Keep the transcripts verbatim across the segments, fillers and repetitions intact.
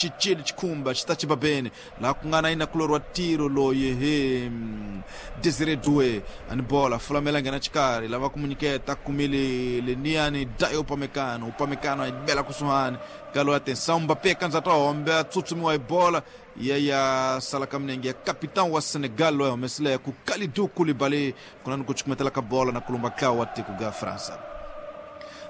Chichili chikhumba chitachibabene la kungana ina kulorwa tiro loyi he Desire Doué ani bola fulamela ngena chikari lava kumunyiketa kumile leniani Dayo Upamecano Upamecano ayibela kusuhani kalo atenção Mbappé kanza tombe atsutsumiwa hi bola yeya sala ka minenge ya capitão wa Senegal loyi humesile ku Kalidou Koulibaly kunani ku chukumetela ka bola na kulumba ka wa tiko ga França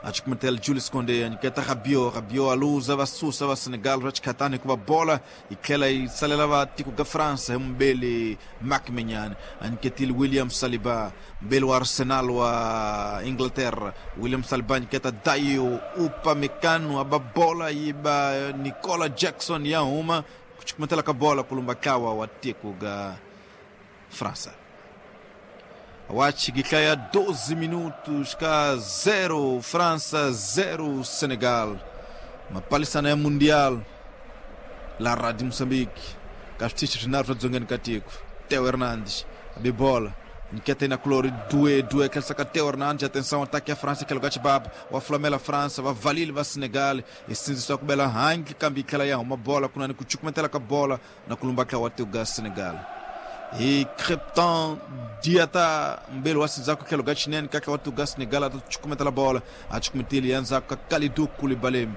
achukumetela Jules Koundé anyiketa Rabiot Rabiot aluza vasusa va Senegal ra chikhatani hikuva bola yi tlhela yi salela va tiko ga França hi mubeli Marc Maignan anyiketile William Saliba mbeli wa Arsenal wa Inglaterra William Saliba anyiketa Dayo Upamecano aba bola yi ba Nicola Jackson ya huma ku chukumetela ka bola kulumba kawa wa tiko ga França. Wachigiklaya doze minutos ka zero França zero Senegal. Mapalisana ya Mundial la Rádio Moçambique. Casticho Renato dzongeni katiko. Teo Hernandes abibola. Nketa na clori Doué Doué quer sacar Teo Hernandes, atenção, ataque a França que lugar chibab, wa Flamela França, va Valil va Senegal, e sinzi só kubela hangi kambi kala ya uma bola kunani kuchukumetela ka bola na kulumba ka wa teuga Senegal. E Crepton Diata mbele wasinzako ke lugar chinene kaka watu ga Senegal atuchukumetela bola achukumeteli yanzako Kalidou Koulibaly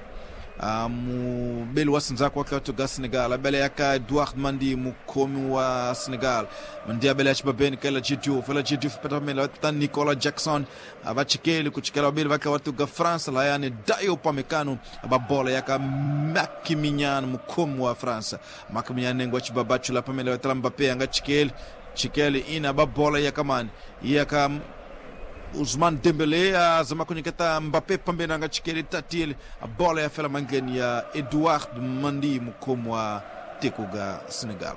mubeli wasinzako wake watu ga Senegal abele yaka Edouard Mandi mukhomi wa Senegal Mandi abele ya chibabeni kaela Diouf ela Diouf peta ta Nicola Jackson abachikeli kuchikela babeli vake watu ga França layani Dayo Upamecano ababola yaka Maximilian mukhomi wa França Maximilian nengo chibabachu la pamela tala Mbappé anga chikeli chikeli ina babola yaka mani yaka Ousmane Dembélé azama kunyiketa Mbappé pambeni anga chikeli tatile a bola ya fela mangeni ya Edouard Mandi mukhomi wa tiko ga Senegal.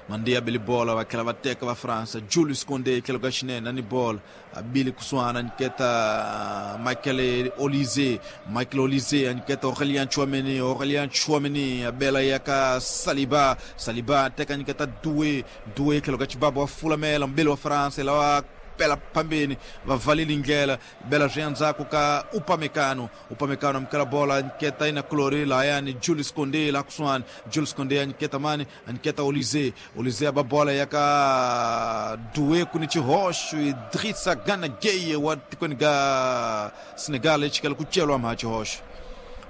Mandi abili bola vakela vateka va França Jules Koundé kelo ga chinene ani bola abili kusuana anyiketa Michael Olise Michael Olise anyiketa Aurélien Tchouaméni Aurélien Tchouaméni abela yaka Saliba Saliba teka anyiketa Doué Doué kelo ga chibabo wa fulamela mbele wa França ela bela pambeni vavalili ndlela bela zwiandzako ka Upamecano Upamecano amukela bola anyiketa ina clori layani Jules Koundé la kusuhani Jules Koundé anyiketa mani anyiketa Olise Olise aba bola yaka Doué kuni chihoxo Idrissa Gana Gueye wa tikweni ga Senegal echikela kuchelwa mha chihoxo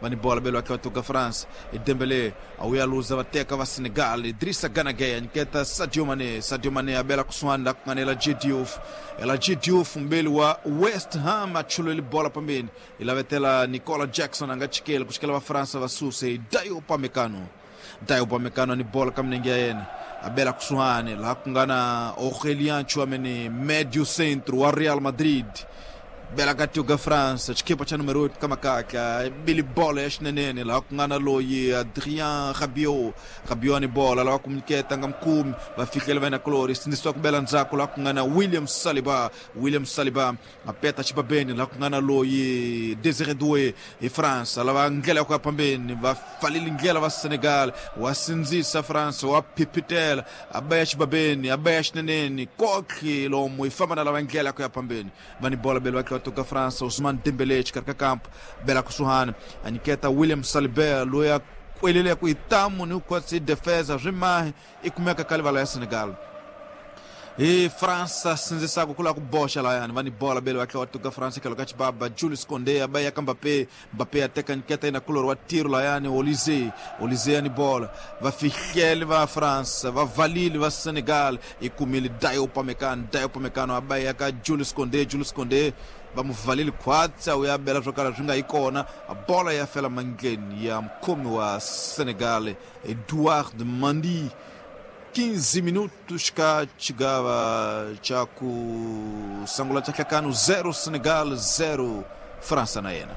vani bola belo akhe watuka France Dembélé awuyaluza vateka va Senegal Idrissa Gana Gueye anyiketa Sadio Mané Sadio Mané abela kusuhani la kungana ela Diouf ela Diouf mbeli wa West Ham achuleli bola pambeni ilavetela Nicola Jackson anga chikela kuchikela va França va suse Dayo Upamecano Dayo Upamecano ni bola kamnenge ya yena abela kusuhani la kungana Aurélien Tchouaméni médio centro wa Real Madrid bela katiuga França chikipa cha número oito kama kaka bili bola ya xinenene laha ku nga na loyi Adrien Rabiot Rabiot ni bola laha ku nyiketa nga mukumi va fikela va na clori sindzisiwa ku bela ndzhaku laha ku nga na William Saliba William Saliba a peta xibabeni laha ku nga na loyi Desire Doué hi França lava ndlela ya ku ya phambeni va falile ndlela va Senegal wa sindzisa França wa phipitela a ba ya xibabeni a ba ya xinenene kokhi lomu yi famba na lava ndlela ya ku ya phambeni va ni bola belo va toka França Ousmane Dembélé xikarhi ka kampo bela kusuhani anyiketa William Saliba loyi a kwelele ku itamu ni ku defesa swi mahi i kumeka ka livala ya Senegal hi França sindzisaka ku lava ku boxa layani va ni bola bele va tlhela va tuka França tlhelo ka chibaba Jules Koundé a ba ya ka Mbappé Mbappé a teka nyiketa yina kulori wa tiro layani Olise Olise ya ni bola va fihlele va França va valile va Senegal i kumile Dayo Upamecano Dayo Upamecano a ba ya ka Jules Koundé Jules Koundé va mu valile khwatsa u ya bela swo kala swi nga yi kona a bola ya fela mangleni ya mukhomi wa Senegal Edouard Mandi. Quinze minutos ka chigava cha ku sangula cha hlakano zero Senegal zero França na yena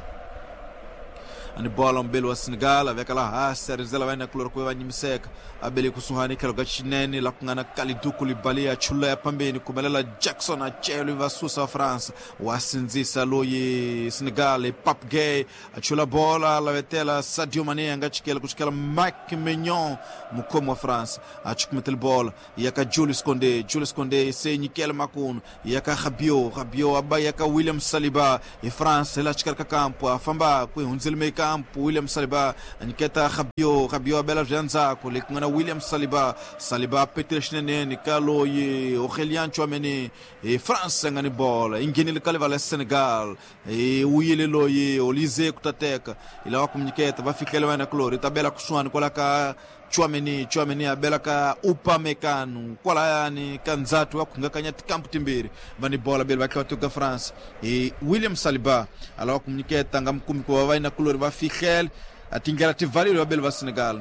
ani bola mbele wa Senegal aveka la hasa rindzela va na kulori ku va nyimiseka abele kusuhani tlhelo ka xinene la ku nga na Kalidou Koulibaly a chula ya phambeni kumelela Jackson a celo va susa França wa sindzisa loyi Senegal Pape Gueye a chula bola lavetela Sadio Mané a nga chikela ku chikela Mike Maignan mukhomi wa França a chukumetela bola ya ka Jules Koundé Jules Koundé se nyikela makunu ya ka Rabiot Rabiot aba ya ka William Saliba hi France la xikarhi ka kampo a famba ku hundzile campo William Saliba anyiketa Rabiot Rabiot abela byandzako le ku nga na William Saliba Saliba petile xinenene ka loyi Aurélien Tchouaméni e France nga ni bola yi nghenile ka livala ya Senegal e u yile loyi Olise ku ta teka yi lava ku nyiketa va fikele va yena kulori ta bela kusuhani kwala ka Tchouaméni Tchouaméni a bela ka Upamecano kwalayani ka ndzhati wa khungakanya tikampu timbirhi va ni bola beli va tlhela va teka France e William Saliba a lava ku nyiketa nga mukumi ku va va yena kulori va fihlele a tindlela ti valile va beli va Senegal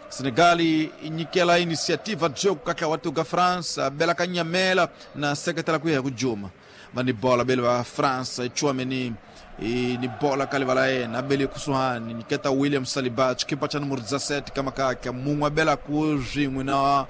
Senegal yi nyikela iniciativa jogo ka ntlawa wa tiko France a bela ka nyamela na seketela ku ya hi ku juma va ni bola beli va France Tchouaméni e ni bola ka livala yena abele kusuhani nyiketa William Saliba xikipa xa numero dezessete ka makaka mun'we abela ku swin'we na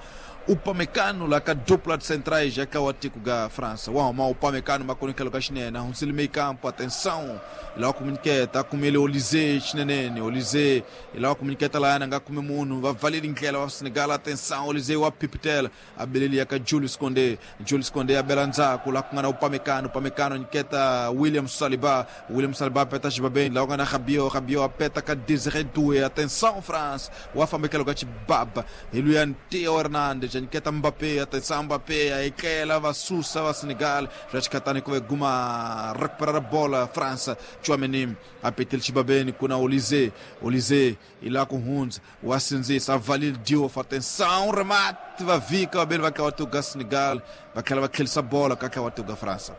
Upamecano la ka dupla de centrais ya ka wa tiko ga França wa huma Upamecano makonikelo ka xinene hundzile meio campo atenção lava ku nyiketa kumele Olise xinenene Olise lava ku nyiketa la yana nga kume munhu va valeli ndlela wa Senegal atenção Olise wa pipitela abeleli ya ka Julius Koundé Julius Koundé abela ndzhaku la ku nga na Upamecano Upamecano nyiketa William Saliba William Saliba peta xibabeni la ku nga na Rabiot Rabiot apeta ka Désiré Doué atenção France wa fambekelo ka xibaba hi luya Theo Hernandez nyiketa Mbappé atenção Mbappé a ekela va susa va Senegal swa xikhatani ku ve guma recuperar a bola França Tchouaméni apetile xibabeni ku na Olise Olise i la ku hundza wa sindzisa a valile Diouf atenção remate va vika vabeli va ntlawa tiko ga Senegal va tlhela va tlhelisa bola ka ntlawa tiko ga França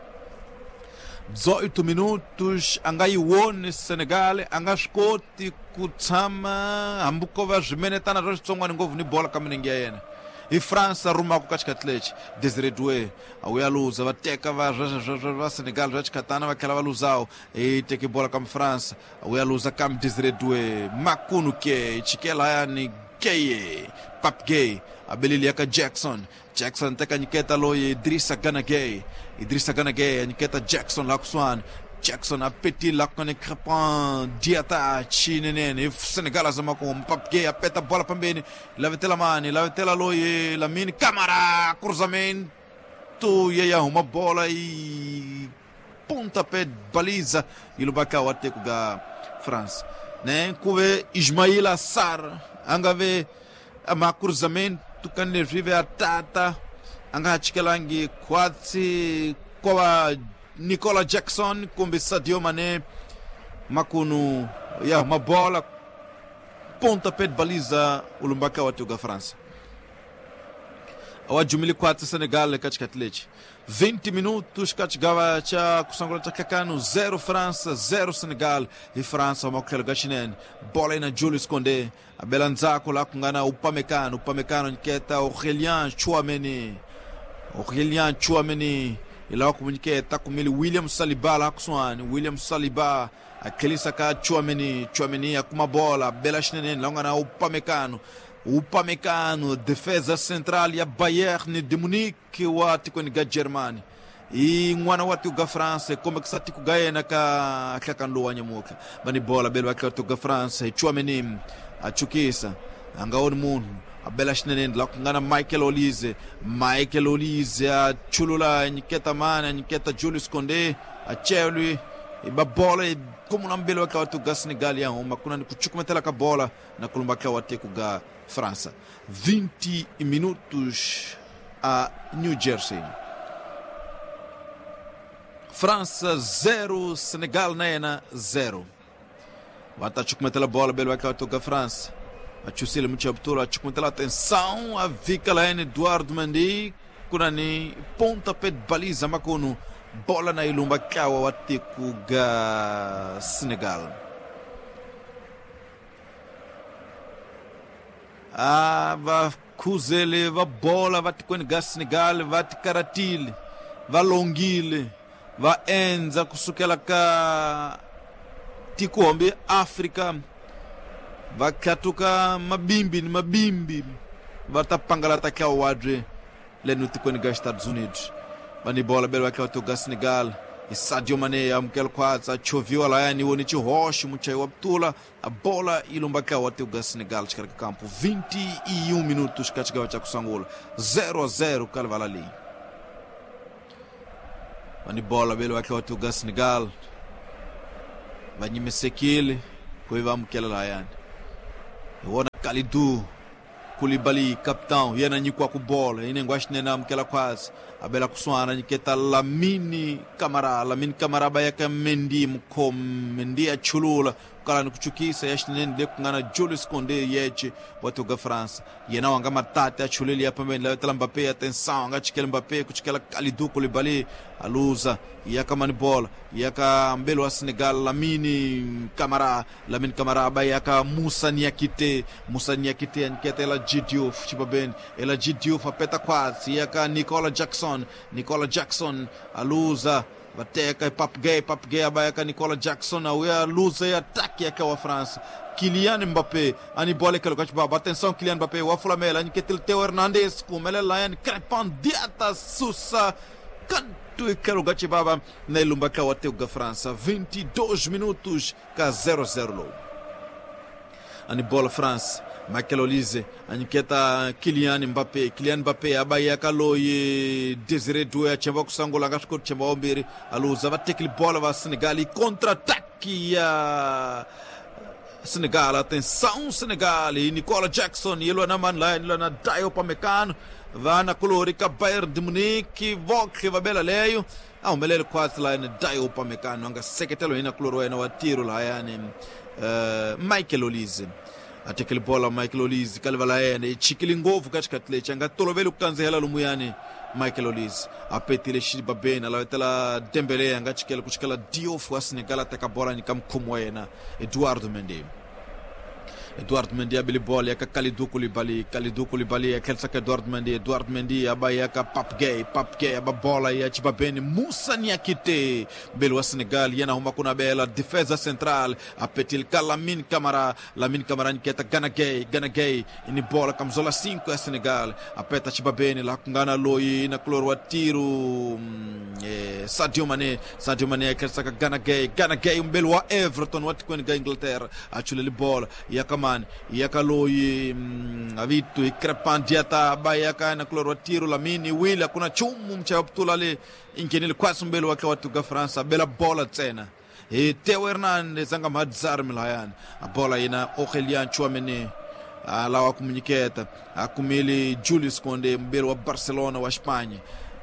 dezoito minutos a nga yi woni Senegal a nga swi koti ku tshama hambi ko va swimenetana swa xitsongwana ngopfu ni bola ka milenge ya yena i França rumaka ka xikhathi lexi Désiré Doué a wu ya luza va teka va va Senegal swa xikhatana va tlhela va luzawo i teke bola ka France a wu ya luza kambe Désiré Doué makunu ke chikela yani Gueye Pape Gueye abeleli ya ka Jackson Jackson teka nyiketa loyi Idrissa Gana Gueye Idrissa Gana Gueye nyiketa Jackson la kusuhani Jackson apetile la kone Crépin Diatta chinenene Senegal azama ku Pape Gueye apeta bola pambeni lavetela mani lavetela loyi Lamine Camara cruzamento e aí uma bola e pontapé de baliza e lubaka wa teko ga France né kuve Ismaila Sarr anga ve ama cruzamento kane vive atata anga chikelangi kwatsi kwa Nicola Jackson kumbe Sadio Mané makunu ya uma bola pontapé de baliza ulumbaka wa teko ga France awajumili quatro Senegal katikati leti vinte minutos katigava cha kusangula cha kakano zero França zero Senegal e França uma gashinene bola ina Julius Koundé abela nzako la kungana Upamecano Upamecano nketa Aurélien Tchouaméni Aurélien Tchouaméni ila kumuniketa kumili William Saliba la kusuani William Saliba akelisa ka Tchouaméni Tchouaméni akuma bola bela shinene la ngana Upamecano Upamecano, defesa central ya Bayern de Munique wa tikoni ga Germany e n'wana wa tiko ga France kombe kisa tiko ga yena ka hlakano wa nyamuka bani bola belo ka tiko ga France Tchouaméni achukisa angaoni munhu abela xinene la ku nga na Michael Olise Michael Olise achulula nyiketa mana nyiketa Julius Koundé achelwi iba bola como na mbele wa tiko ga Senegal ya huma kuna ni kuchukumetela ka bola na kulumba ka wa tiko ga França. vinte minutos a New Jersey. França zero, Senegal nena zero. Vata chukumetela bola belo wa tiko ga França. Achusile mchabtula chukumetela atenção a vika la Eduardo Mendy kuna ni pontapé de baliza makunu bola na ilumba kawa wa tiko ga Senegal. Ah, va khuzele va bola va tikweni ga Senegal va tikaratile va longile va endza kusukela ka tiko hombe Afrika va khatuka mabimbi ni mabimbi va ta pangalata ka wadre leno tikweni ga Estados Unidos va ni bola belo va ka ga Senegal e Sadio Mané amukela khwatsa choviwa layani woni chihoxo muchayi wa ptula a bola ilumba ka wa tiko ga Senegal xikarhi ka kampo vinte e um minutos ka xigava xa kusangula zero a zero ka livala leyi va ni bola belo va ka wa tiko ga Senegal va nyimisekile Ku va amukela lahayani hi wona Kalidou Koulibaly capitão yena nyikiwa ku bola inengo axinene amukela khwasi abela kusuhana nyiketa Lamine Camara Lamine Camara ba yaka Mendy mukhomi Mendy a chulula kukala ni kuchukisa ya xinene le ku nga na Julius Koundé yeche wa tiko France yena wanga matati a chuleli ya pambeni la tela Mbappé atenção anga chikela Mbappé kuchikela Kalidou Koulibaly aluza yaka mani bola yaka mbelo wa Senegal Lamine Camara Lamine Camara ba yaka Moussa Niakité Moussa Niakité aniketa ela Diouf chibabeni ela Diouf apeta quase yaka Nicola Jackson Nicola Jackson aluza vateka Pape Gueye Pape Gueye abayaka Nicola Jackson auya luza e ataque yaka wa França Kylian Mbappé ani bola kalo kachibaba atenção Kylian Mbappé wa Flamela aniketel Theo Hernandez kumele Lion Crepin Diata Sousa canto e kalo kachibaba na ilumba ka wa teuga França vinte e dois minutos ka zero zero low ani bola France Michael Olise aniketa Kylian Mbappé Kylian Mbappé abayaka loyi Desiré Doué achemba kusangola ngasviko chemba ombiri aluza vatekile bola va Senegal contra-ataque ya Senegal atenção Senegal e Nicola Jackson yelwa na man line yelwa na Dayo Upamecano vana kulori ka Bayern de Munique voke vabela leyo ahumelele khwatsi line Dayo Upamecano anga seketelo hina kulori wa yena wa tiro lahayani uh, Michael Olise atekele bola Michael Olise kalivala yena i chikile ngopfu ka xikhathi lexi a nga toloveli ku kandzihela lomuyani Michael Olise a petile xibabeni a lavetela Dembele a nga chikela ku chikela Diouf wa Senegal a teka bola nyika mukhomi wa yena Eduardo Mendy Eduardo Mendy abele bola yaka Kalidou Koulibaly Kalidou Koulibaly a tlherisa ka Eduardo Mendy Eduardo Mendy aba yaka Pape Gueye Pape Gueye aba bola ya Chibabeni Moussa Niakité mbeli wa Senegal yena huma ku nabela defesa central a petil ka Lamine Camara Lamine Camara nyiketa Gana Gueye Gana Gueye ini bola kamzola cinco ya Senegal a peta Chibabeni laha ku nga na loyi na kulori wa tiro eh, Sadio Mané Sadio Mané a tlherisa ka Gana Gueye Gana Gueye mbeli wa Everton wa tikweni ka Inglaterra a chuleli bola ya man yaka loyi avitu Crepin Diata bayaka na kulori wa tiro Lamine Willy akuna chumu mchaya putula le inghenile khwasi mbeli wa wa tuka France bela bola ntsena hi Theo Hernandez anga mhadzari milayani a bola yina Aurelien Tchouameni alawa kumunyiketa akumile Julius Koundé mbeli wa Barcelona wa Espanha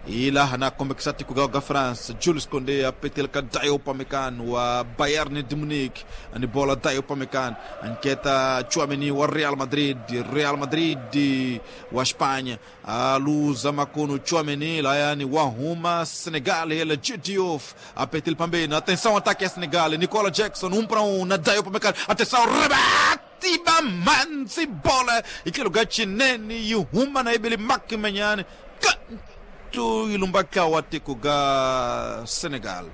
ila na kombekisa tiko ga France Julius Koundé apetel ka Dayo Upamecano wa Bayern de Munich ani bola Dayo Upamecano anketa Tchouameni wa Real Madrid Real Madrid wa Espanha a luza makono Tchouameni layani wa Roma Senegal ele Diouf apetel pambeni atenção ataque a Senegal Nicola Jackson um para um na Dayo Upamecano atenção rebate bamanzi bola ikelo gachinene e Roma na ebele Makmenyane ilumbaka wa tiko ga Senegal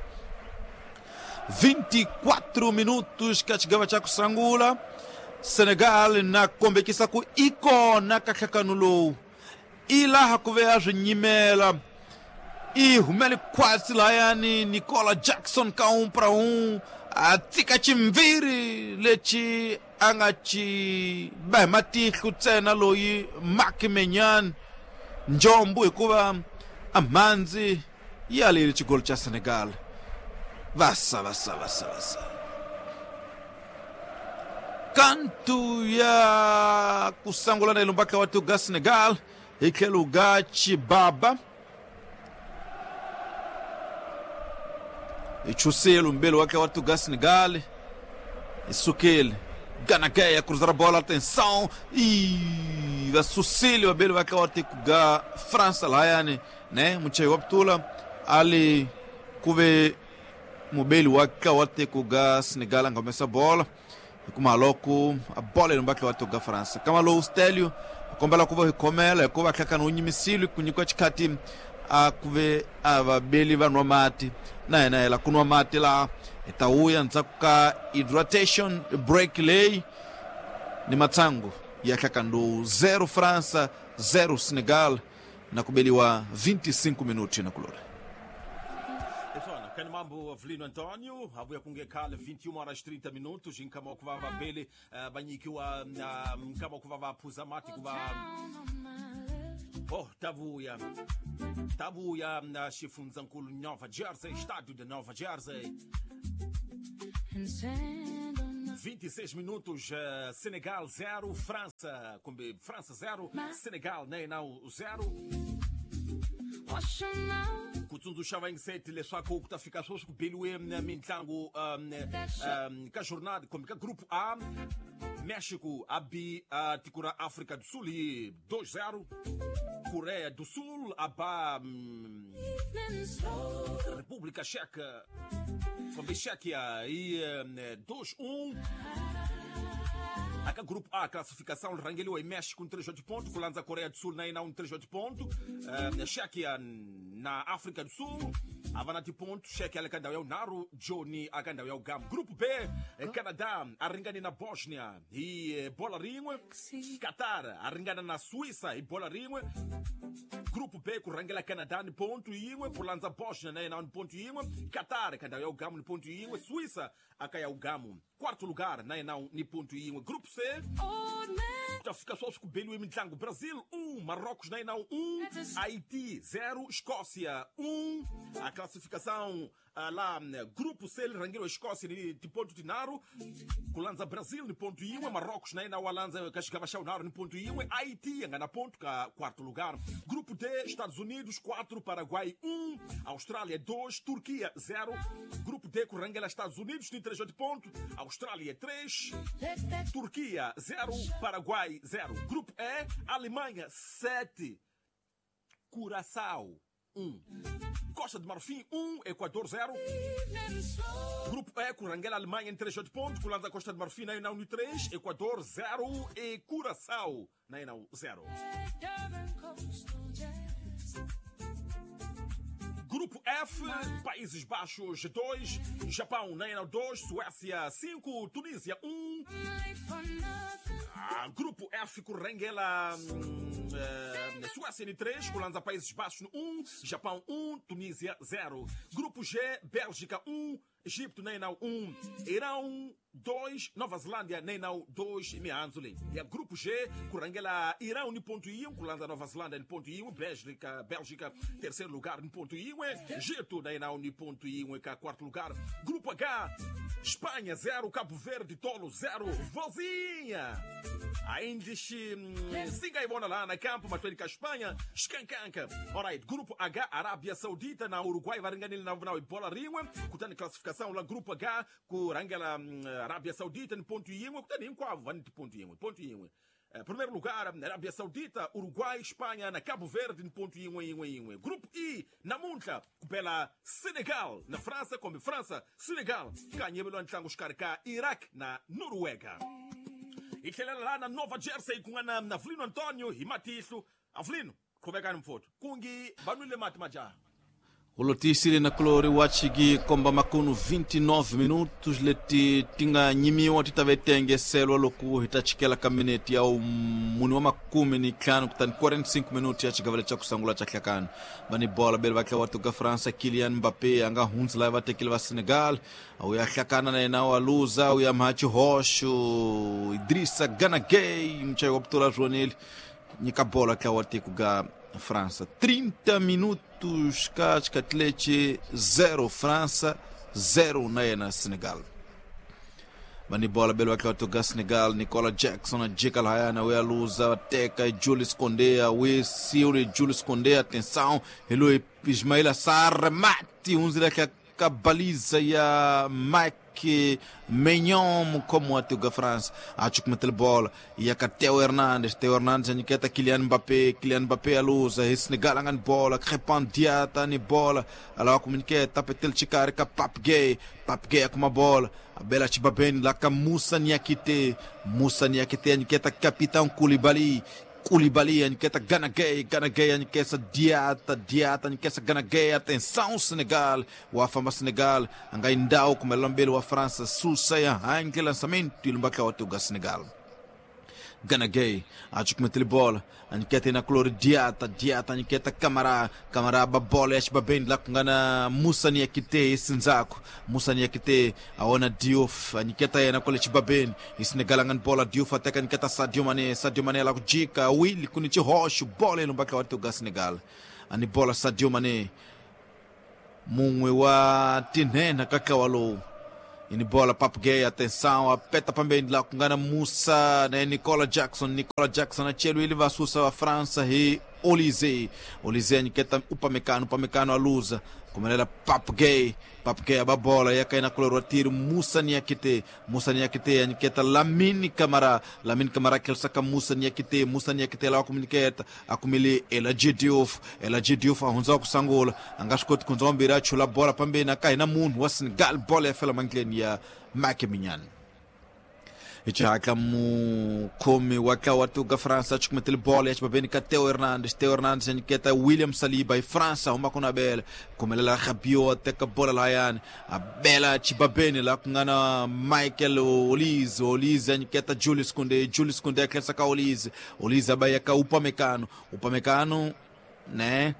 vinte e quatro minutos kachigava cha kusangula Senegal na kombekisa ku ikona kahlakanulowu ilaha kuve a swinyimela i humele khwatsi layani Nicola Jackson ka um para um a tika chimviri lexi a nga xi ba hi matihlo ntsena loyi Marc Maignan njombo hikuva amhandzi ya leli xigolo xa Senegal vasa vasa vasa vasa kantu ya kusangula na ilumbaka wa tuga Senegal hi tlhelo ga Chibaba hi chuselo mbelo wake wa tuga Senegal hi sukile Gana Gueye a cruzar a bola, atenção e va Sucílio abele wake wa tuga França layani né muchai wa putula ali kuve mubeli wake wa tuga Senegal angomesa bola kumaloko a bola ilumbaka wa tuga França kamalo Stelio kombela kuva hikhomela hikuva hlakana unyimisile ku nyikiwa xikhati a kuve a vabeli va nwa mati na hina hela ku nwa mati laha hi ta vuya ndzhaku ka hydratation break leyi ni matsangu ya hlakano lowu zero França zero Senegal na ku beliwa vinte e cinco minutos na kulori. Kani mambo Avelino António, abuya kunge khale vinte e uma horas trinta minutos, nkama okuvava bele banyikiwa nkama okuvava phuza mati kuva oh tavuya tavuya na xifundzhankulu Nova Jersey, estádio de Nova Jersey. vinte e seis minutos, uh, Senegal zero, França, kumbe França zero, Senegal na yena zero. Ku tsundzuxa vayingiseti leswaku ku ta fika sweswi ku beliwe mitlangu um, um, ka jornada kumbe ka group A, México a bi uh, tiko ra África do Sul hi dois zero, Coreia do Sul a ba um, República Checa kumbe Chequia hi um, dois um. Aka grupo A, classificação rangeliwa hi México três oito ponto, ku landza Coreia do Sul na yena um três oito ponto, uh, Chequia na África do Sul a va na tiponto, Chequia le ka ndhawu ya vunharhu, Joni aka ndhawu ya vugamu. Group B, Canada a ringane na Bosnia hi bola rin'we, Qatar a ringana na Suíça hi bola rin'we. Grupo B ku rhangela Canada ni ponto yin'we, ku landza Bosnia na yena ni ponto yin'we, Qatar ka ndhawu ya vugamu ni ponto yin'we, Suíça aka ya vugamu quarto lugar na yena ni ponto yin'we. Grupo C, ta fika sweswi ku beliwe mitlangu, Brasil um, Marrocos na yena um, Haiti zero, Escócia um. A classificação lá, grupo C, rangeliwa Escócia ni ponto tinharhu, ku landza Brasil ni ponto yin'we, Marrocos na yena wa landza ka xigava xa vunharhu ni ponto yin'we, Haiti ya nga na ponto ka quarto lugar. Grupo D, Estados Unidos quatro, Paraguai um, Austrália dois, Turquia zero. Grupo D ku rangela Estados Unidos ni três oito ponto, Austrália três, Turquia zero, Paraguai zero. Grupo E, Alemanha sete, Curaçao um, Costa de Marfim um, Equador zero. Grupo E, ku rangela Alemanha em três oito pontos, ku landza Costa de Marfim na um três, Equador zero e Curaçao na zero. Grupo F, Países Baixos dois, Japão na dois, Suécia cinco, Tunísia um. Ah, grupo F, ku rangela hum, eh, Suécia em três, ku landza Países Baixos um, Japão um, Tunísia zero. Grupo G, Bélgica um, Egito na um, Irão dois, Nova Zelândia na dois, mianzuli. E a grupo G, ku rangela Irão no ponto um, ku landza Nova Zelândia no ponto um, Bélgica, Bélgica terceiro lugar no ponto um, Egito na no ponto um, cá quarto lugar. Grupo H, Espanha zero, Cabo Verde Tolo zero, Vozinha. Ainda siga ibona lá na campo, mas com a Espanha, escancanca. Alright, grupo H, Arábia Saudita na Uruguai, varinganil na na bola ringue, kutani classificação lá grupo H, ku rangela Arábia Saudita no ponto um, kutani inquavo, van ponto um, ponto um. Primeiro lugar, Arábia Saudita, Uruguai, Espanha, na Cabo Verde, no ponto um, um, um. Grupo I, na Munta, pela Senegal, na França, como França, Senegal, ganha ntlangu xikarhi Iraque, na Noruega. Hi tlhelela laha na Nova Jersey ku nga na na Avelino Antonio hi matihlo. Avelino, qhuvekani mfowethu. Kungi va nwile mati majaha. Ulotisile na kulori wachigi komba makunu vinte e nove minutos leti tinga nyimiwa titave tengeselwa loku hitachikela kamineti ya muni wa makumi ni ntlhanu kutani quarenta e cinco minutos ya xigavele xa kusangula xa hlakani. Vani bola bele va tlhela wa França Kylian Mbappé anga hundzi laha va tekile va Senegal u ya hlakana na yena wa luza u ya mhachi hoxo Idrissa Gana Gueye mchayi wa putula zvonile nyika bola tlhela wa tiko ga França. trinta minutos ka Atlete zero França zero na yena Senegal. Vani bola bele va tlhela Senegal Nicola Jackson jika lahayana u ya luza teka Jules Koundé we siule Jules Koundé atenção hi loyi Ismaila Sarr mati hundzile ka baliza ya Mike Maignan como a Tuga France acho que meteu bola e a Teo Hernandes Teo Hernandes aniqueta Kylian Mbappé Kylian Mbappé a luza Senegal angan bola Crepin Diata ni bola ala comuniqueta petel chikari ka Pape Gueye Pape Gueye com uma bola a bela Chibabeni lá ka Moussa Niakité Moussa Niakité aniqueta capitão Koulibaly Koulibaly aniqueta Gana Gueye Gana Gueye aniqueta Diata Diata aniqueta Gana Gueye atenção Senegal o afama Senegal angaindao com melambele wa França susa ange lançamento e lumbaka wa tuga Senegal Gana Gueye acho que meteu bola aniqueta na color Diata Diata aniqueta Camara Camara ba bola acho bem lá com gana Moussa Niakité Sinzako Moussa Niakité aona Diouf aniqueta na cole Chibabeni e Senegal angan bola Diouf até aniqueta Sadio Mané Sadio Mané lá com Dica Willy Kunichi Rocha bola no baca wa Senegal ani bola Sadio Mané munwe wa tinhena kakawalo Ini bola Pape Gueye, atenção, apeta pambeni la kungana Musa na Nicola Jackson. Nicola Jackson achelo ili vasusa wa França e Olise. Olise anyiketa Upamecano, Upamecano aluza. Kumelela Pape Gueye, Pape Gueye aba bola yakaina kulorwa tiro Musa Niakite, Musa Niakite anyiketa Lamine Camara, Lamine Camara kelsaka Musa Niakite, Musa Niakite la komuniketa akumili Eladji Diouf, Eladji Diouf ahunza kusangula angashikoti kunzombira chula bola pambeni akaina munhu wa Senegal, bola yafela mangleni ya Mike Maignan. Ichaka mukhomi wa ntlawa wa França chukumetele bola ya xibabeni ka Theo Hernandez. Theo Hernandez a nyiketa William Saliba hi França huma ku na bela khumelela Rabiot a teka bola lahayani a bela xibabeni laha ku nga na Michael Olise. Olise a nyiketa Julius Koundé, Julius Koundé a tlherisa ka Olise, Olise a ba ya ka Upamecano, Upamecano ne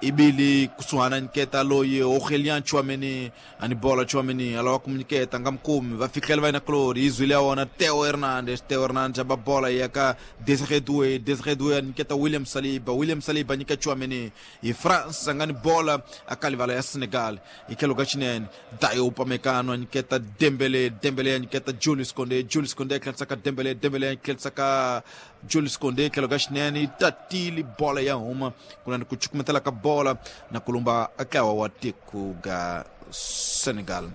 ibili kusuhana nyiketa loyi Aurélien Tchouaméni ani bola Tchouaméni alawa kumunyiketa nga mukumi va fikela va yina kulori izwile ya wona Theo Hernandez. Theo Hernandez aba bola ya ka Désiré Doué, Désiré Doué anyiketa William Saliba, William Saliba anyika Tchouaméni hi France nga ni bola akalivala ya Senegal ikhelo ka xinene Dayo Upamecano anyiketa Dembélé, Dembélé anyiketa Julius Koundé, Julius Koundé tlherisa ka Dembélé, Dembélé tlherisa ka Julius Koundé tlhelo ka xinene yi tatile bola ya huma kunani ku cukumetela ka bola na kulumba ntlawa wa tiko ga Senegal.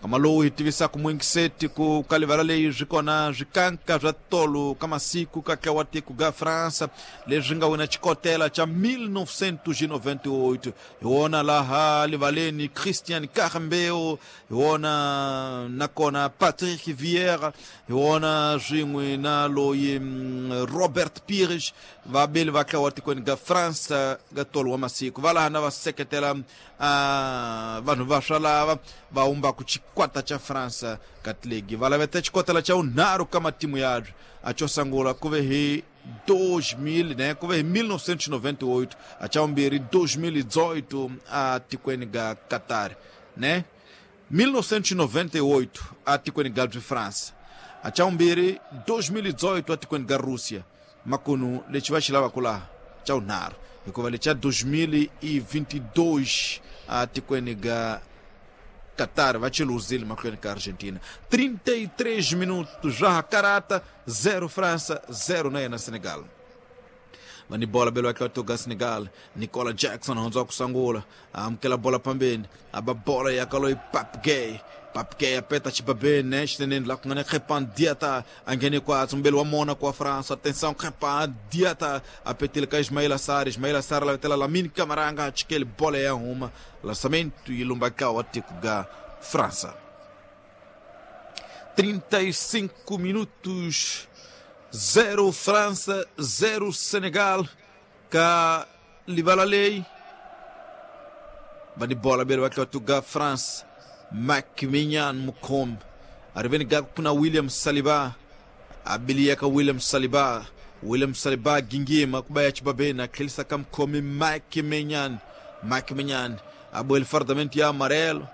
Kama lowu hi tivisaka muingiseti ku ka livala leyi swi kona swikanka swa tolo ka masiku ka ntlawa wa tiko ga França leswi nga wina xikotela xa mil novecentos e noventa e oito. Hi wona laha livaleni Christian Karembeu, hi wona nakona Patrick Vieira, hi wona swin'we na loyi Robert Pires, vabeli va ntlawa wa tikweni ga França ga tolo wa masiku. Va laha na va seketela uh, vanhu va swa lava va humbaku xikwata xa França ka tiligi va laveta xikotela xa vunharhu ka matimu yabyo a xo sungula ku ve hi dois mil, né, ku ve hi mil novecentos e noventa e oito, a xa vumbirhi dois mil e dezoito a tikweni ga Qatar, né, mil novecentos e noventa e oito a tikweni ga França, a xa vumbirhi dois mil e dezoito a tikweni ga Rússia. Makunu lexi va xi lavaka laha xa vunharhu hikuva lexa dois mil e vinte e dois a tikweni ga Qatar va chiluzile mahlweni ka Argentina. trinta e três minutos já karata, zero França, zero na yena Senegal. Vani bola belo aqui toga Senegal, Nicola Jackson hundzwa ku sungula, amukela bola pambeni, aba bola ya kaloi Pape Gueye. Pape Gueye apeta xibabeni ne xineneni laha ku nga na Crépin Diatta a nghene kwatsi mbeli wa Monaco wa França. Atenção, Crépin Diatta apetile ka Ismaila Sarr, Ismaila Sarr lavetela Lamine Camara a nga chikeli bola ya huma. Lançamento yi lumba ka wa tiko ga França. trinta e cinco minutos, zero França, zero Senegal ka livala lei. Vani bola belo wa ga France. Mike Maignan mukhombi ariveni ga kuna William Saliba abiliyaka William Saliba, William Saliba gingima kuba ya xibabeni a tlherisa ka mukhomi Mike Maignan, Mike Maignan abueli fardamento ya amarelo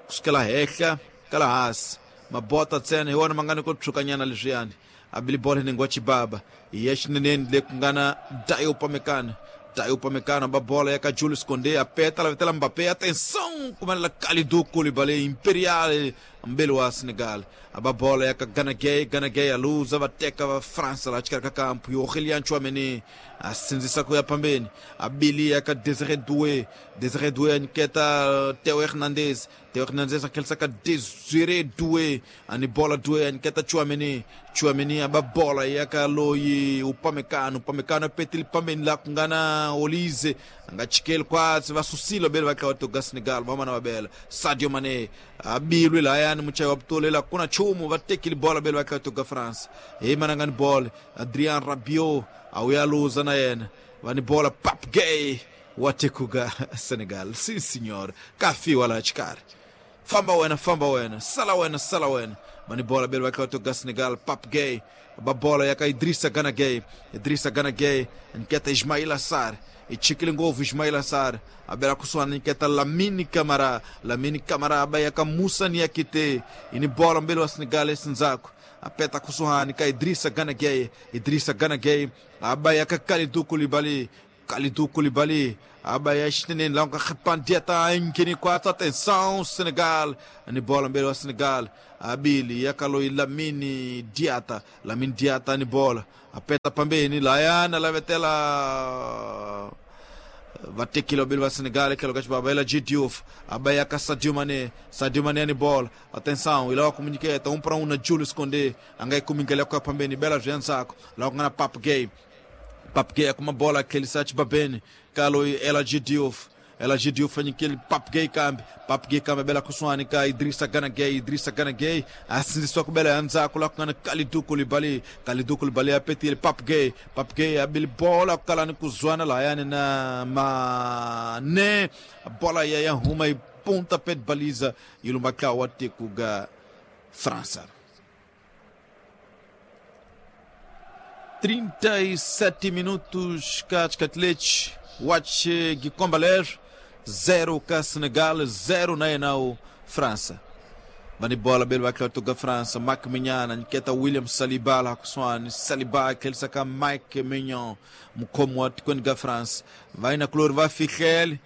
kusukela henhla ka la hansi mabota ntsena hi wona ma nga ni ku tshukanyana leswiyani abili bola hinengi wa xibaba hi ya xineneni le ku nga na Dayo Upamecano. Dayo Upamecano ba bola ya ka Julius Koundé apeta lavetela Mbappé, atenção kumelela Kalidou Koulibaly Imperial mbeli wa Senegal aba bola ya ka Gana Gueye, Gana Gueye aluza va teka va França la xikarhi ka kampu Aurélien Tchouaméni a sindzisa ku ya pambeni abili ya ka Désiré Doué, Désiré Doué a nyiketa Theo Hernandez, Theo Hernandez a tlherisa ka Désiré Doué ani bola Doué a nyiketa Tchouaméni, Tchouaméni aba bola ya ka loyi Upamecano, Upamecano a petile pambeni laha ku nga na Olise a nga chikeli kwatsi va susile beli va ntlawa wa Senegal va mana va bela Sadio Mané abilwi lahayani muchayi wa vutolela ku na nchumu va tekile bola beli va ntlawa wa France hi manangani bola Adrien Rabiot a wu ya luza na yena va ni bola Pape Gueye wa tiko ga Senegal. Sim senhor, kafiwa laha xikarhi, famba wena, famba wena, sala wena, sala wena. Va ni bola beli va ntlawa wa Senegal Pape Gueye ba bola ya ka Idrissa Gana Gueye, Idrissa Gana Gueye nyiketa Ismaila Sarr, ichikile ngopfu Ismaila Sarr abela kusuhana nyiketa Lamine Camara, Lamine Camara aba ya ka Musa Niakite ini bola mbele wa Senegal esindzhaku apeta kusuhani ka Idrissa Gana Gueye, Idrissa Gana Gueye aba ya ka Kalidou Koulibaly, Kalidou Koulibaly abaya xinene la nga Krépin Diatta quatro. Atenção Senegal ni bola mbele wa Senegal abili yakalo Lamine Diatta Lamine Diatta ni bola apeta pambeni layana la vetela vatekile wabili wa Senegal kelo kachibaba ela G Diouf abayaka Sadio Mané Sadio Mané ni bola atenção ilawa komuniketa um para um na Julius Koundé angai kumingela kwa pambeni bela zvianzako lawa kungana Pape Gueye Pape Gueye com uma bola aquele sete babene kalo ela G Diouf ela G Diouf anyikele Pape Gueye kambe Pape Gueye kambe bela kuswani ka Idrissa Gana Gueye Idrissa Gana Gueye asinziswa kubela yanzako la kungana Kalidou Koulibaly Kalidou Koulibaly apetile Pape Gueye Pape Gueye abili bola kukala kuzwana la yani na Mané bola ya ya huma e pontapé de baliza ilumbaka watikuga França. trinta e sete minutos Katkatlich Watch Gikombaler zero ka Senegal zero na enau França. Bani bola belo vai França Mike Maignan nketa William Saliba la kuswani Saliba aquele saca Mike Maignan mkomo atikweni France vai na klor vai fikel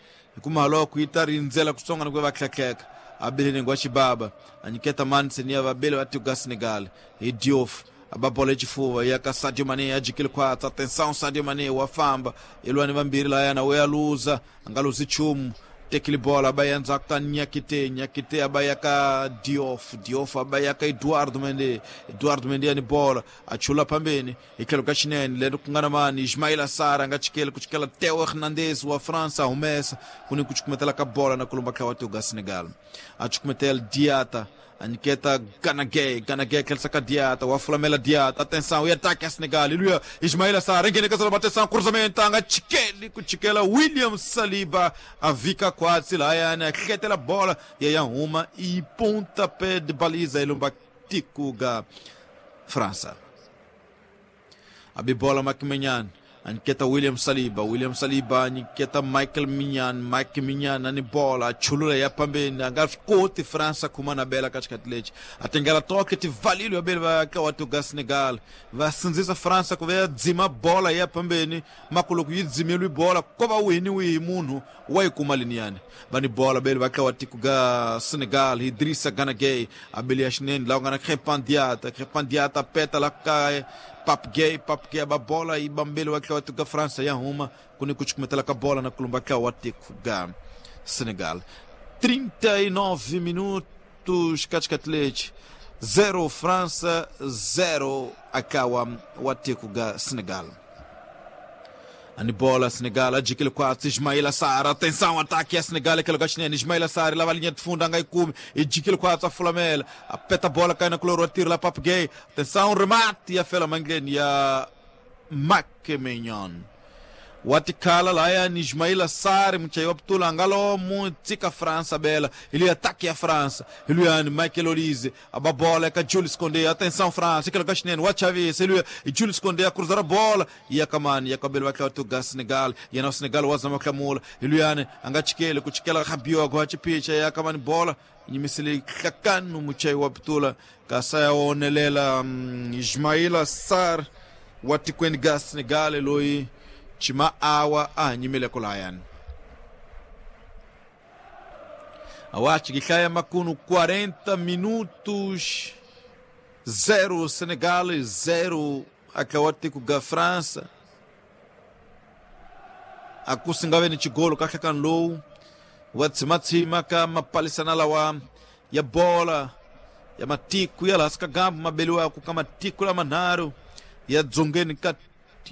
kumalo kuita rinzela kusonga nkwe vaklakleka abele ngwa chibaba aniketa Mansenia vabele vatuga Senegal e Diouf ababola chifuva yaka Sadio Mané ajikile kwatsa atenção Sadio Mané wafamba ilwani vambiri layana weyaluza angaluzi chumu tekile bola abayenza ka Nyakite Nyakite abayaka Diouf Diouf abayaka Eduardo Mendy Eduardo Mendy ani bola achula pambeni ikhelo ka xinene lero kungana mani Ismaila Sarr angachikele kuchikela Theo Hernandez wa França humesa kuni kuchikumetela ka bola na kulumba ka watu ga Senegal achikumetela Diatta Aniketa Gana Gueye, Gana Gueye aquele saca Diatta, o Flamela Diatta, atenção, e ataque a Senegal, e Ismaila Sarr, engene que atenção, cruzamento, anga Tchikele, Tchikela, William Saliba, a Vika quase lá, a bola, e aí uma, e pontapé de baliza, ele um batikuga, França. A bibola Mike Maignan, aniketa William Saliba, William Saliba, aniketa Michael Maignan, Mike Maignan, ani bola, chulula ya pambeni, angaskote França kumana bela katikati atengela toque te valilho abele ka watu ga Senegal, vasinzisa França kuve dzima bola ya pambeni, makuluku yidzimelu bola, kova wini wi munhu wai kumaliniane. Bani bola bele vaka watu ga Senegal, Idrissa Gana Gueye, abele yashineni, la ngana Krépin Diatta, Krépin Diatta peta la ka Pape Gueye, Pape Gueye ba bola e bambele wa watu ga França ya uma kuni kuchikumetela ka bola na kulumba ka watu ga Senegal. trinta e nove minutos katikati zero França zero akawa watu ga Senegal. Ani bola Senegal, adquire quatro, Ismaila Sarr, atenção, ataque a Senegal, aquele gastinho, Ismaila Sarr, lá a linha de fundo, angai cume, adquire quatro, a Flamela, apeta a bola, cai na color, atira lá, Pape Gueye, atenção, remate, e a Fela Manglene, e a Mike Maignan. Watikala lá é Ismaila Sarr, muchayo Abdullah ngalo mutika França bela, ele ataque a França, ele é Michael Olise, a bola é com Jules Koundé, atenção França, aquele gastinho, o Xavi, ele é Jules Koundé a cruzar a bola, e a Kamani, e a cabelo vai o Senegal, e a Senegal o Azama Kamula, ele é angachikele, kuchikela Rabiot agora picha, e a Kamani bola, e misili kakanu muchayo Abdullah, kasaya onelela Ismaila Sarr, watikweni ga Senegal eloi chima awa a nyimele kulayan awachi gikhaya makuno quarenta minutos zero Senegal zero akawati ga França akusingawe ni chigolo kahlakan low watsimatsima ka mapalisana lawa ya bola ya matiku ya laska gambu mabeliwa kama tiku la manaro ya dzongeni ka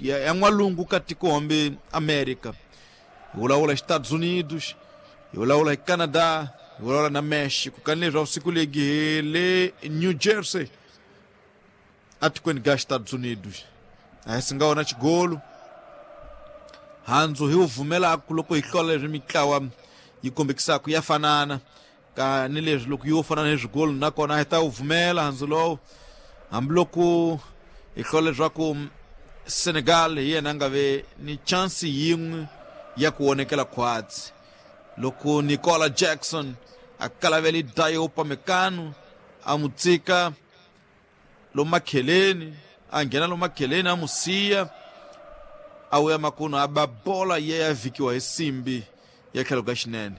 ya, ya n'walungu ka tiko América yulawula Estados Unidos yulawula Canadá yulawula na México kanileswi siku legi hi le New Jersey atikweni ga Estados Unidos a hi singa wona xigolo handzu hi wu vumelaku loko hi hlola leswi mitlawa yi kombekisaka ya fanana ka ni leswi loko yo fana ni swigolo nakona hi ta wu vumela handzu lowu hambiloko hi hlola leswaku Senegal hi yena a nga ve ni chance yin'we ya ku vonekela khwatsi loko Nicola Jackson a kalavele Dayo Upamecano a mu tsika lomakheleni a nghena lomakheleni a mu siya A wu ya makuno a ba bola ye ya vikiwa hi simbi ya tlhelo ka xinene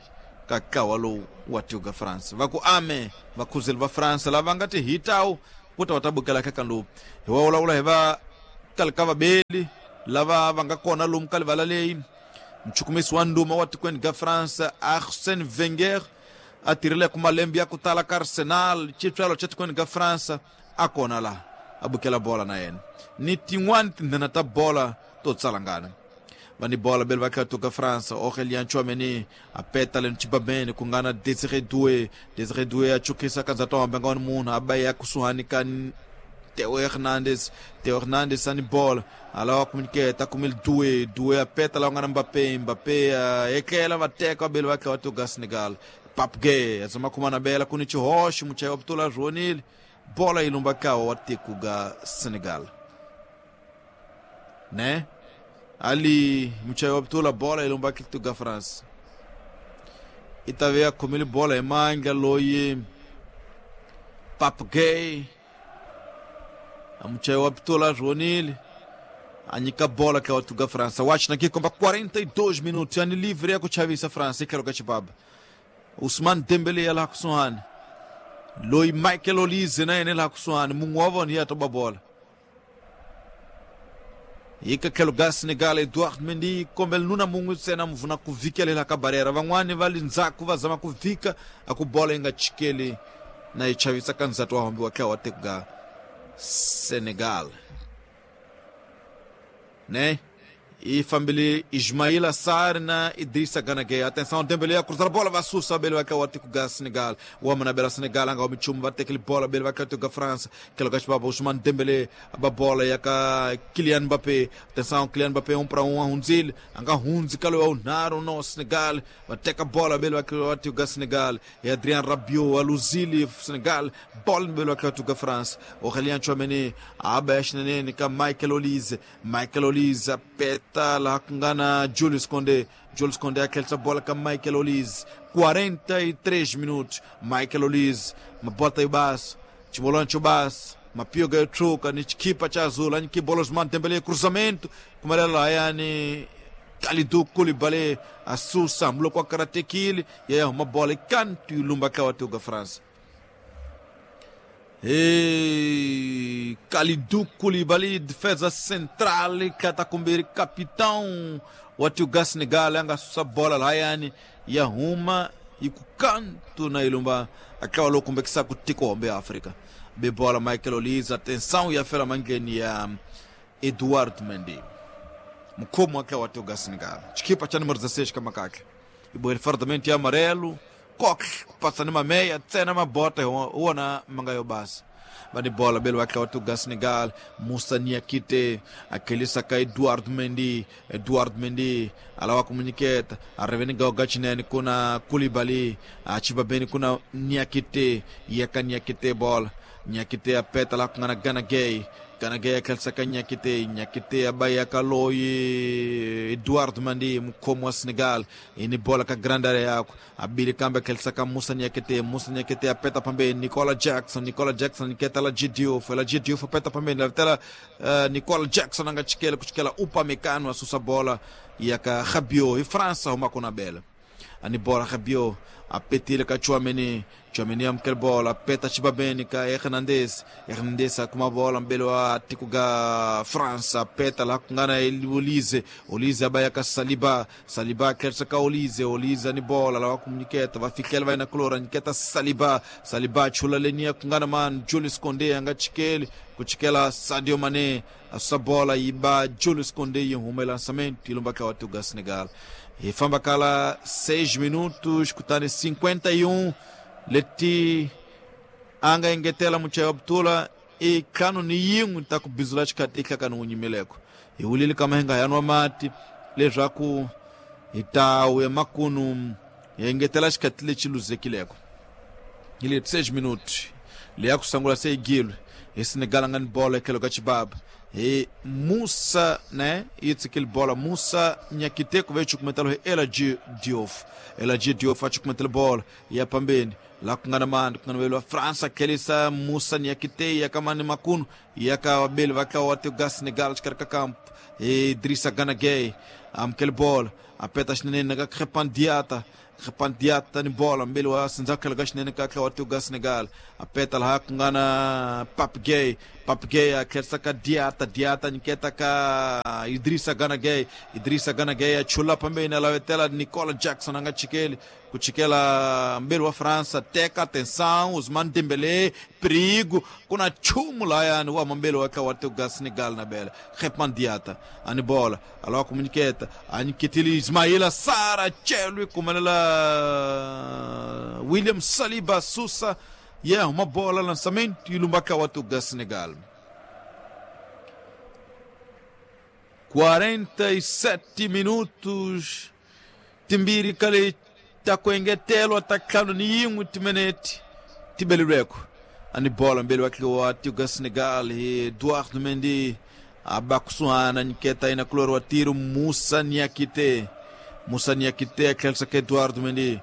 ka ntlawa lowu wa tiko ka France. Va ku ame vakhuzeli va France lava nga ti hitawu ku ta va ta bukela eka lowu. Hi wa vulavula hi va kalika vabeli lava va nga kona lomu ka livala leyi. Mchukumisi wa nduma wa tikweni ka France Arsène Wenger a tirhile ku malembe ya ku tala ka Arsenal xitswalo xa tikweni ka France a kona laha a bukela bola na yena ni tin'wani tindhena ta bola to tsalangana. Va ni bola bele va kha ka France Aurélien Tchouaméni a peta le Chibabene ku nga na Désiré Doué. Désiré Doué a chukisa ka ndzata wa nga munhu a ba ya kusuhani ka Theo Hernandez. Theo Hernandez ani bola alawa communicate kumil Doué. Doué a peta la nga na Mbappé. Mbappé ekela va teka bele va kha ka Senegal. Pape Gueye azama kumana bela kuni chihoshi muchayo Abdullah Ronil bola ilumba kawa wa tiko ga Senegal né ali muchayo Abdullah bola ilumba kitu ga France itavea kumili bola emanga loyi Pape Gueye muchayo Abdullah Ronil anyika bola ka wa ga France watch na kikomba quarenta e dois minutos yani livre ya kuchavisa France ikalo ka chibaba Ousmane Dembélé la kusuhani loyi Michael Olise na yena la kusuhani mungu wa vona ya toba bola yika tlhelo ga Senegal Edouard Mendy kombela nuna mungu ntsena muvuna ku vikelela ka barera van'wani va le ndzhaku va zama ku vika a ku bola yi nga chikeli na yi chavisa ka ndzati wa hombiwa tlhelo wa tiko ga Senegal né. E família Ismaila Sarr na Idrissa Gana Gueye. Atenção, Dembélé a cruzar a bola, vai sussa, Bele vai cair o ga Senegal. O homem na bela Senegal, anga o Michum, vai ter aquele bola, Bele vai cair o França. Que lugar para Ousmane Dembélé, a bola e a Kylian Mbappé. Atenção, Kylian Mbappé um para um, a Hunzil, anga Hunzi, calou o Naro no Senegal. Vai ter a bola, Bele vai cair o Senegal. E Adrien Rabiot, a Luzili, Senegal, bola Bele vai cair o França. Aurélien Tchouaméni, a Abesh Nenene, Michael Olise, Michael Olise, a peta lá com Julius Koundé. Julius Koundé aquela bola com Michael Olise. quarenta e três minutos. Michael Olise, uma bota e baixo, Timolante baixo, uma pioga e truca, nichikipa cha azul, aniki bola Ousmane Dembélé, cruzamento, como era lá, yani Kalidou Koulibaly, a Sussa, mloko a karatekili, e aí uma bola e canto e lumba kawatuga França. E Kalidou Koulibaly, defesa central, catacumbiri, capitão, o Atiuga Senegal, anga sussa bola lá, yani, e arruma, e com canto na ilumba, aquela loucura que saco tico homem África. Be bola Michael Olise, atenção, e a fera mangeni ya Edouard Mendy. Mkomo aquela Atiuga Senegal. Chiquipa cha número dezesseis kamakake. E boer fortemente amarelo. Coque, passa numa meia, tsena uma bota, ona mangayo base. Vai de bola, belo aquela Tuga Senegal, Moussa Niakite, aquele saca Eduardo Mendy, Eduardo Mendy, alawa comuniqueta, a reveniga o Gachinene com a Koulibaly, a Chibabene com a Niakite, e a Niakite bola, Niakite a peta lá com a Gana Gueye. Gana Gueye aquele saca Niakite, Niakite a Bahia Kaloi, Eduardo Mendy, como a Senegal, e ni bola com a grande área, a Billy Campbell aquele saca Moussa Niakite, Moussa Niakite a peta pambe, Nicola Jackson, Nicola Jackson, Niqueta la Diouf, ela Diouf a peta pambe, ela Nicola Jackson anga chiquela, cuchela Upamecano a sussa bola, e a Rabiot, e França uma com a bela. Ani bola Rabiot, a petilha com a Tchouaméni, Tchouaméni amkel bola, peta Chibabene com Hernandez, Hernandez com uma bola, belo a Ticuga França, peta lá com Gana Olise, Olise abaia com Saliba, Saliba quer sacar Olise, Olise ani bola, lá com Niqueta, vai ficar vai na clora, Niqueta Saliba, Saliba chula lenia com Gana man, Julius Koundé anga chiquele, kuchikela Sadio Mané, a sua bola iba Julius Koundé e um lançamento, e lumba com o Senegal. E fambacala seis minutos, kutani cinquenta e um, leti anga engetela muchayo Abdullah e kano ni yingu taku bizula chikatika kano unyimeleko. E ulili kama henga yanwa mati, lejaku itau ya makunu engetela chikatile chiluzekileko. Ile seis minutos, le akusangula sei gilo, e Senegal angani bola ekelo kachibaba. E Moussa, né? Isso aquele bola Moussa Niakite que veio comentar o Ela Diouf. Ela Diouf faz comentar bola e a pambene. La kungana mani kungana wa França kelisa Musa Niakite yakamani makunu yaka wabeli vaka watu ga Senegal chikarika campo Idrissa Gana Gueye amkel bola apeta xinene naka Crépin Diatta Crépin Diatta ni bola mbeli wa sindzakela ka xinene ka watu ga Senegal apeta laha kungana Pape Gueye Pape Gueye akhelisa ka Diatta Diatta nyiketa ka Idrissa Gana Gueye Idrissa Gana Gueye achula pambeni alavetela Nicola Jackson anga chikeli kuchikela mbeli wa França teka atenção Ousmane Dembélé perigo kuna chumu layani wa mambeli wa watu ga Senegal na bela Crépin Diatta ani bola alawa kumunyiketa anyiketili Ismaila Sarr chelwi kumelela William Saliba Sousa yeah uma bola lançamento e lumbaka watu ga Senegal. quarenta e sete minutos timbiri kale takuengetelo atacando ni yin'we timinete tibelilweko ani bola mbeli wa watu ga Senegal Eduardo Mendy abakusuhana nyiketa ina kulor wa tiro Musa Niakite Musa Niakite akhelisa ka Eduardo Mendy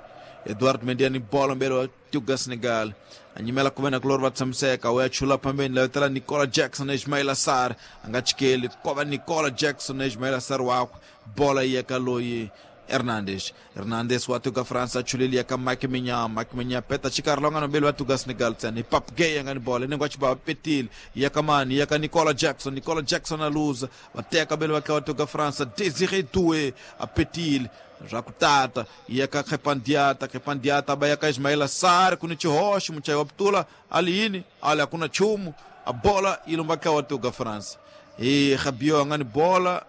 Eduardo Mendy ani bola mbeli wa ga Senegal anyimela kuvena kulor va tshamiseka wa chula pambeni la tela Nicola Jackson na Ismaila Sarr anga chikeli kova Nicola Jackson na Ismaila Sarr wakwe bola yeka loyi Hernandez Hernandez watuga França chulilia ka Mike Maignan Mike Maignan peta chikarlonga no belo watuga Senegal tsani Pape Gueye ngani bola nengo chiba petil yakamani yaka Nicola Jackson Nicola Jackson aluza wateka belo watuga França Désiré Doué a petil rakutata yaka Crépin Diatta Crépin Diatta bayaka Ismaila Sarr kuni chihoshi muchai waptula aliini ali akuna chumu a bola ilumbaka watuga França e Rabiot ngani bola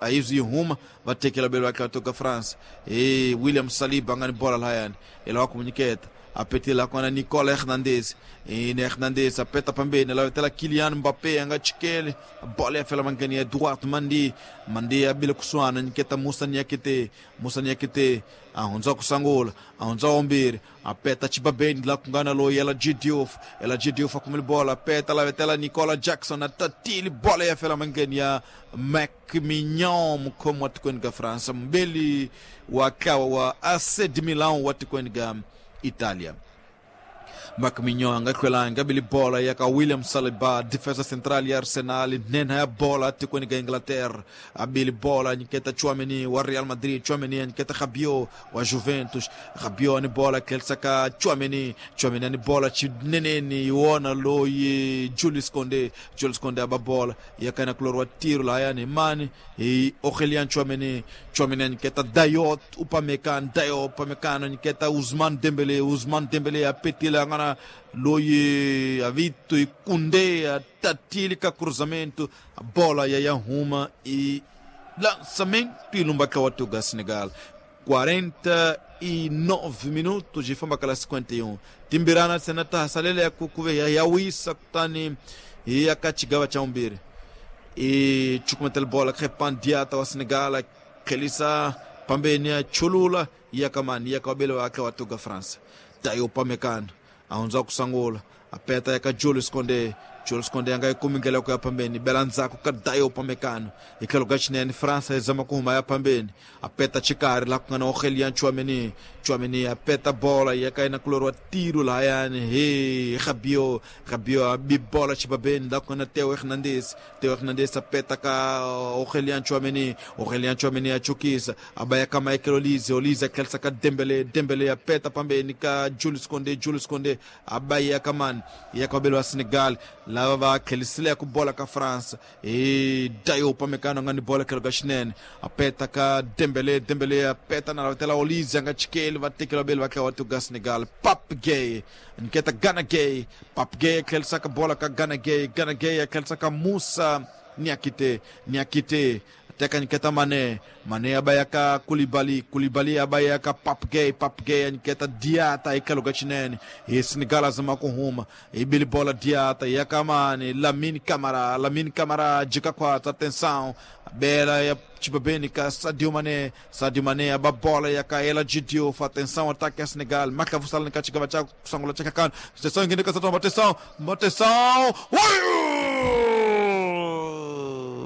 aizi huma vatekela belo akatoka France e William Saliba ngani bola layani ela wakumunyiketa apetela kona Nicola Hernandez e Hernandez apeta pambeni la tela Kylian Mbappé anga chikele bola ya fela mangani Eduardo Mendy Mendy abile kuswana nyiketa Musa Niakite Musa Niakite ahonza kusangula ahonza ombiri apeta chibabeni la kungana lo yela Diouf ela Diouf akumil bola apeta la tela Nicola Jackson atatili bola ya fela mangani ya Mike Maignan mkomo watikweni França mbeli wakawa wa A C de Milan watikweni Italia. Mike Maignan angakwelanga bili bola yaka William Saliba defesa central ya Arsenal nena ya bola tikweni ga Inglaterra abili bola nyiketa Tchouaméni wa Real Madrid Tchouaméni nyiketa Rabiot wa Juventus Rabiot ni bola kelsaka Tchouaméni Tchouaméni ni bola chineneni iona loyi Jules Koundé Jules Koundé aba bola yaka na kloro wa tiro la yani mani e Aurélien Tchouaméni Tchouaméni nyiketa Dayot Upamecano Dayot Upamecano nyiketa Ousmane Dembélé Ousmane Dembélé apetila ngana loye avito e Koundé tatilika cruzamento a bola ya Yahuma e lançamento e lumbaka watuga Senegal. Quarenta e nove minutos de famba kala cinquenta e um timbirana senata hasalele ya kukuve ya yawisa kutani e akachigawa cha umbiri e chukumetel bola Crépin Diatta wa Senegal kelisa pambeni ya chulula yakamani yakabele wake watuga France Dayo Upamecano aonza kusangula apeta yaka Jules Koundé Jules Koundé anga ikumingela kwa pambeni belanzako ka Dayo Upamecano ikelo gachinene França ezama kuhuma ya pambeni apeta chikari la kungana Aurélien Tchouaméni Tchouaméni apeta bola yaka ina kuloro tiro la yani he Rabiot Rabiot abi bola chibabeni la kungana Theo Hernandez Theo Hernandez apeta ka Aurélien Tchouaméni Aurélien Tchouaméni achukisa abaya kama Michael Olise Olise kelsa ka Dembélé Dembélé apeta pambeni ka Jules Koundé Jules Koundé abaya kamani yakabelo wa Senegal lava va khelisile ku bola ka France e Dayo Upamecano ngani bola kelo gashinene apeta ka Dembélé Dembélé apeta na tela Olise nga chikeli va tekela bel va ka watu ga Senegal Pape Gueye nketa Gana Gueye Pape Gueye khelisa ka bola ka Gana Gueye Gana Gueye khelisa ka Musa Niakite Niakite teka nketa Mané Mané abayaka Koulibaly Koulibaly abayaka Pape Gueye Pape Gueye nketa Diatta ikalo gachinene e Senegal azama kuhuma e bili bola Diatta yakamani Lamine Camara Lamine Camara jika kwa atenção bela ya chibabeni ka Sadio Mané Sadio Mané ababola yaka Ela Diouf atenção ataque a Senegal marca vusala nkachiga cha kusangula chaka kan atenção ngene ka atenção atenção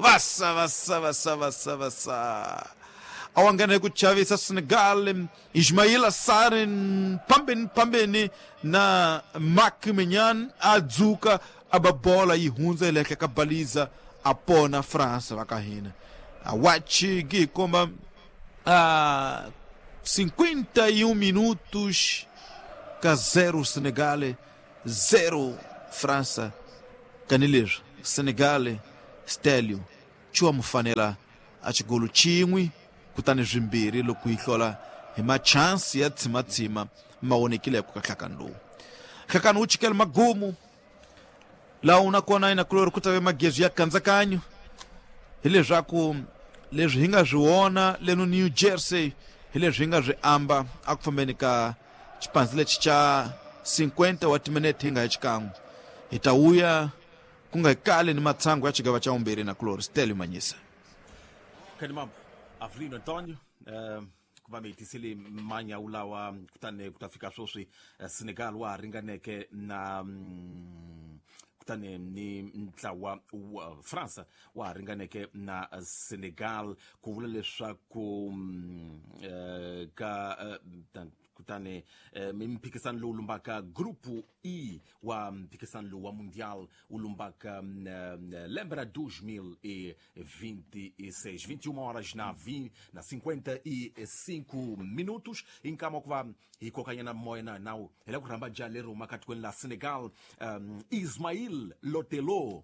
Vassa, vassa, vassa, vassa, vassa. a wa nghena hi ku chavisa Senegal. Ismaila Sarr pambeni pambeni na Marc Maignan a dzuka a ba bola yi hundza hi le henhla ka baliza a pona França va ka hina. A wachi gi komba a cinquenta e um minutos ka zero Senegal, zero França. Kanileswi Senegal Stelio chiwa mufanela a xigolo xin'we kutani swimbirhi loko yi hlola hi machansi ya tshimatsima ma vonekile ku ka nhlakano lowu. Nhlakano wu chikele magumu laha nakona inakulori ku ta ve magezi ya kandzakanyo hileswaku leswi hi nga swi vona leno New Jersey hi leswi hi nga swi amba a ku fambeni ka xipandzi lexi xa cinquenta wa timinete hi nga hi xikan'we hi ta vuya ku nga kale ni matsangu ya xigava xa vumbirhi na kulori Stelio Manyisa. Kanimambo Avelino Antonio, ku va mi hi tisele manyawu lawa kutani ku ta fika sweswi Senegal wa ha ringaneke na kutani ni ntlawa wa Fransa wa ha ringaneke na Senegal ku vula leswaku ka kutani mphikisano lowu lumbaka grupu E wa mphikisano lowu wa mundial wu lumbaka lembe ra dois mil e vinte e seis, vinte e uma horas na vinte, na cinquenta e cinco minutos inkama ku va hi kokanyana moya na nawu hi la ku rhamba ja leri humaka tikweni la Senegal, um, Ismail Lotelo.